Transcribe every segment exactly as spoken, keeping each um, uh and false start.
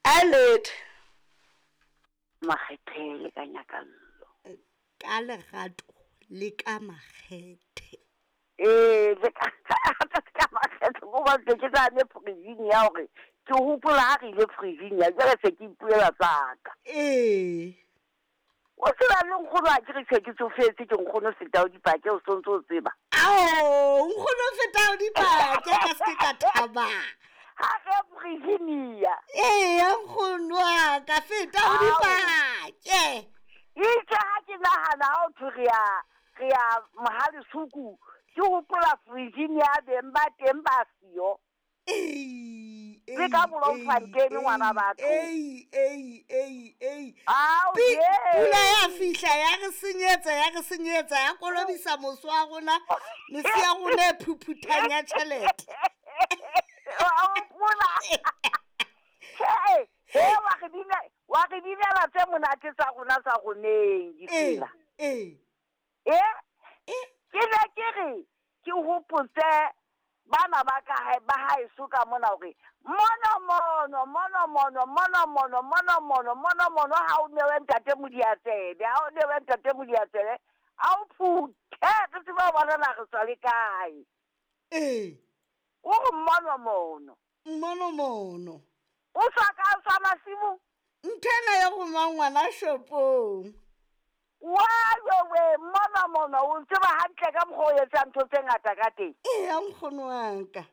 A letho. Makgethe le ka nyakallo. Ka lerato le ka makgethe. Ee, le ka ka makgethe go ba ke tsane Virginia hore ke hopola ha re ile Virginia jwale se ke ipuela tsaka. Ee. O tseba le nkgono ha ke re se ke tsofetse ke nkgono feta o dipake o sontso o tseba. Ao, nkgono feta o dipake ka se ka thaba. Ha re Virginia. Ee, nkgono wa ka feta o dipake. Itse ha ke nahana ha o thwe re ya re ya Mohalesuku ke hopola Virginia beng ba teng ba siyo. Ei, Le ka Bloemfontein ngwana batho. Ei, ei, ei, ei. Ao, Pi- ye. Pula ya fihla ya re senyetsa ya re senyetsa ya kolobisa moso wa rona mesi ya rona e phuphuthang ya tjhelete. Wa hopola. Hey, hey, wa re bina wa re binela tse monate tsa rona tsa roneng Ee, ditsela. ee. Eh? Ke ne ke re ke hopotse bana ba ka hae ba haeso ka mona hore mono mono mono mono mono mono mono mono mono mono ha o newe ntate Modiatsebe ha o newe ntate Modiatsebe a o phuthe re tsebe ho bona na re tswa le kae. Ee. O re mono mono. Mono mono. O tswa ka tswa masimo. Ntho ena ya go mang ngwana shopong. Wa wewe mono mono o tseba hantle ka mokgwa o etsang ntho tse ngata ka teng. Ee, nkgono wa ka.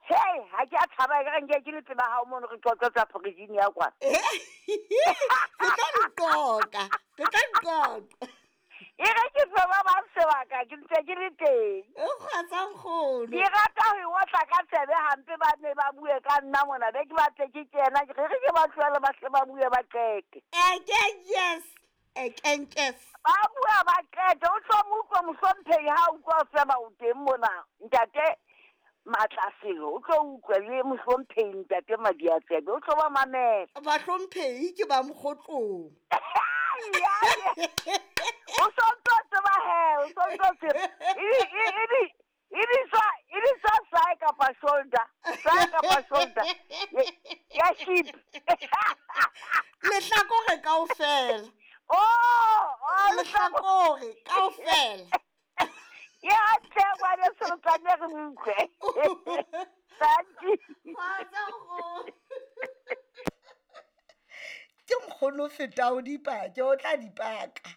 Hei, ha ke a tshaba ekare nke ke le pela hao mono re qoqa tsa Virginia kwana. Re tla di qoqa, re tla di qoqa. E re ke fe ba bang sebaka ke ntse ke le teng. E kgotsa nkgono. Ke rata ho e otla ka tsebe hampe ba ne ba bue ka nna mona be ke batle ke kena ke re ke ba tlohele ba hle ba bue ba qete. Eke yes, ekenkes. Ba bua ba qete o tlo mo utlwa mohlomphehi ha utlwa o feba o teng mona ntate Matlaselo o tlo utlwa le mohlomphehi ntate Madiatsebe o tlo ba mamela. Bahlomphehi ke ba mokgotlong. O sontso tseba he, o sontso tseba. E e e bitswa e bitswa thigh kapa shoulder, thigh kapa shoulder. Ya sheep. Lehlakore kaofela. Oh, oh lehlakore kaofela. Ya tle ngwane Seletsane re utlwe. Thank you. Kgotsa nkgono. Ke nkgono feta o dipake, o tla dipaka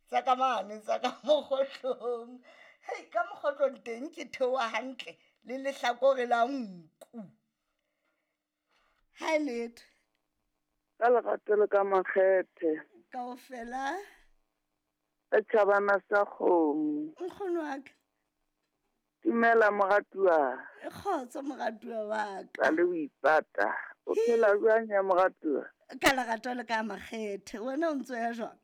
tsa ka mane tsa ka mokgotlong. Hei, ka mokgotlong teng ke theoha hantle le lehlakore la nku. Ha e letho. Ka lerato le ka makgethe. Kaofela. Ka tjhabana sa kgomo. Nkgono wa ka. Dumela moratuwa. Kgotso moratuwa wa ka. Ka le o ipata. O phela jwang ya moratuwa? Ka lerato le ka makgethe. Wena o ntso ya jwang?